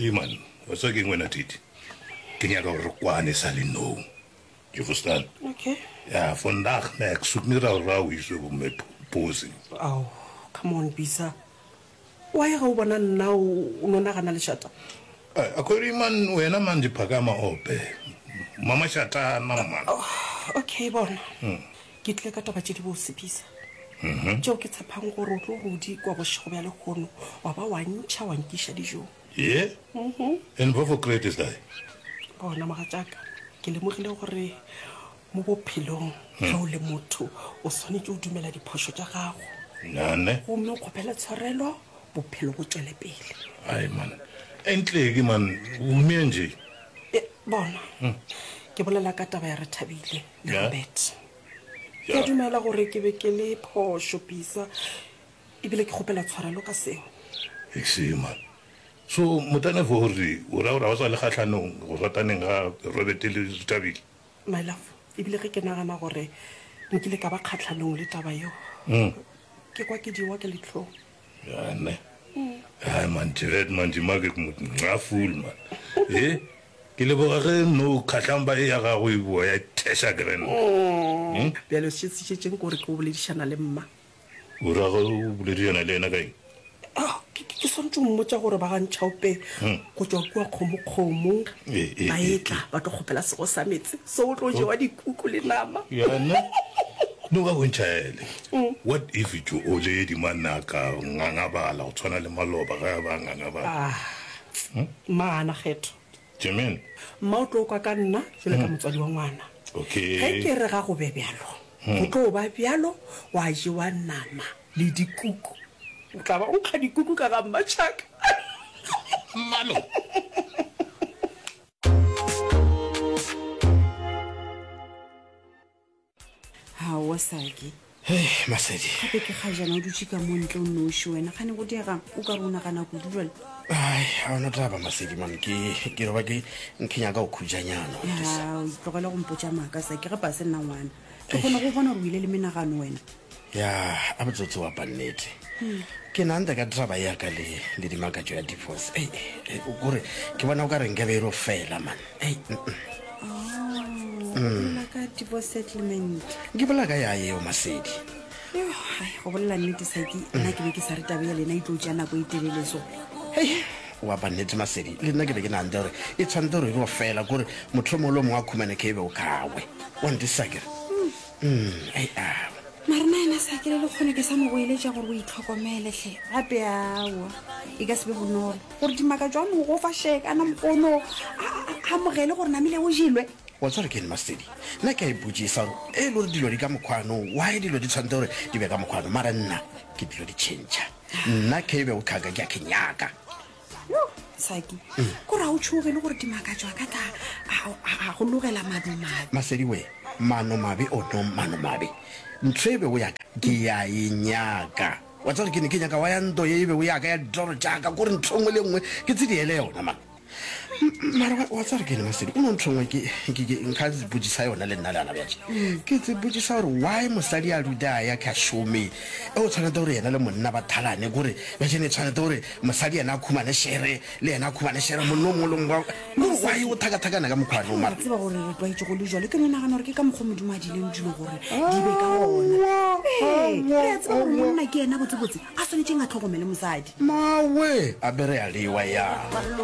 Ee man, wa tseba keng wena Titi? Ke nyaka gore re kwane sa le nou. Jy verstaan? Okay. Ja, vandag nee, ek soek nie rau rau hier so op my posing. Ao, come on Bisa. Why ge o bona nna o o no nagana lešata? Ai, Akhori man, wena man diphakama ope. Mama šatana man. Oh, okay bona. Ke tlile ka taba tše di bose Bisa. Tšeo ke tshepang gore o tlo re o di kwa bošego bja lehono wa ba wa ntšha wa nkiša dijong. Ye? En wat voor kreet is daai? Bona mogatšaka, ke lemogile gore mo bophelong ge o le motho o swanetše o dumela diphošo tša gago. Nane. Gomme o kgopele tshwarelo, bophelo bo tšwele pele. Ai man, eintlik man, hoe meen jy? E, bona, ke bolela ka taba ya Rethabile le Robert. Ke a dumela gore ke be ke le phošo, Bisa, ebile ke kgopela tshwarelo ka seo. Ek sê man. So motane fo gore o ra gore ga o sa le kgahlanong go rataneng ga Robert le Rethabile? My love, ebile ge ke nagana gore nkile ka ba kgahlanong le taba yeo, ke kwa ke jewa ke lihlong. Ja ne. Haai man, Jared man, jy maak ek moet nca voel man. He? Ke leboga ge no kgahlamba e ya gago e boa ya theša grand. Bjale se se šetšeng ke gore ke o boledišana le mma. O ra ge o boledišana le yena ka eng? Ah, ke, ke, ke swanetše go mmotša gore ba ga Ntšhaope go tšwa kua Kgomokgomo E, e, ba e, etla ba tlo kgopela sego sa meetse so o tlo jewa dikuku le nama. Ya ne? No ka bontšhaele. What if jo oledi man a ka ngangabala go tshwana le maloba ge a ba ngangabala? Ah, mma ga a na kgetho. Jermaine. Mma o tlo kwa ka nna jwalo ka motswadi wa ngwana. Okay. Ge ke re ga go be bjalo, go tlo ba bjalo, gwa jewa nama le dikuku. O tla ba o nkga dikuku ka ga Mmatšhaka. Mmalo. Aowa, Saki. Hei, Masedi. Gape ke kgajana o dutše ka mo ntle o nnoši wena. Kgane go diegang? O ka re o nagana kudu jwale. Ai, ga ona taba, Masedi man. Ke, ke no ba ke, ke nyaka go khutšanyana. Ya, o tlogele go mpotša maaka, Saki. Gape a se nna ngwana. Ke kgona go bona gore o ile le menagano wena. Ya, a botsotsi wa pa nnete. Ke nante ka taba ya ka le, le dimakatšo ya divorce. Ei, ei, o kore ke bona o ka re nkabe e ro fela man. Ei, mm, mm. Oh, o bolela ka divorce settlement. Ke bolela ka ya yeo Masedi. Yo, ai, go bolela nnete Saki, nna ke be ke sa re taba ya lena e tlo tšea nako e telele so. Hei, wa pa nnete Masedi, le nna ke be ke nante gore e tshwanetse gore e ro fela, kore motho o mongwe le o mongwe a khumane ke e be o kawe. Wa ntisa akere? Mm, ei, awa. Mara na yena sa kele le kgone ke sa mo goeletša gore o itlhokomele hle. Gape awa, e ka se be bonolo gore Dimakatšo a mo gofa she kana mokgono a a amogele gore namile o jelwe. Wa tseba gore ke eng Masedi? Nna ke a ipotšisa gore e le gore dilo di ka mokgwano, why dilo di tshwanetse gore di be ka mokgwano? Mara nna ke dilo di tšhentšha. Nna ke be o tlhaka ke a ke nyaka. Yo, Saki, ko re a o tšhoge le gore Dimakatšo a ka tla a, a go logela manomabe. Masedi we, manomabe o no manomabe. Ntho e bego ya ka ke ya e nyaka. Wa tseba gore ke ne ke nyaka wa ya nto ye e bego ya ka ya ditoro tša ka, kore ntho e nngwe le e nngwe ke tse diele yona man. Mara wa, wa tseba gore ke eng Masedi, o no ntho e nngwe ke, ke, ke nka botšisa yona le nna le gana bjatše. Ke tse botšisa gore why mosadi a dula a ya ka šome, e o tshwanete gore yena le monna ba thalane, kore bjatše ne tshwanete gore mosadi yena a khumane shere, le yena a khumane shere, monna o mongwe le o mongwe, kore why o thakathakana ka mokgwa no mara. Wa tseba gore re tlwaetše go le jwalo, ke no nagana gore ke ka mokgwa Modimo a diileng dilo gore di be ka gona. Ee, re a tseba gore monna ke yena botsebotse a swanetšeng a tlhokomele mosadi. Mawe, a be re a lewa ya.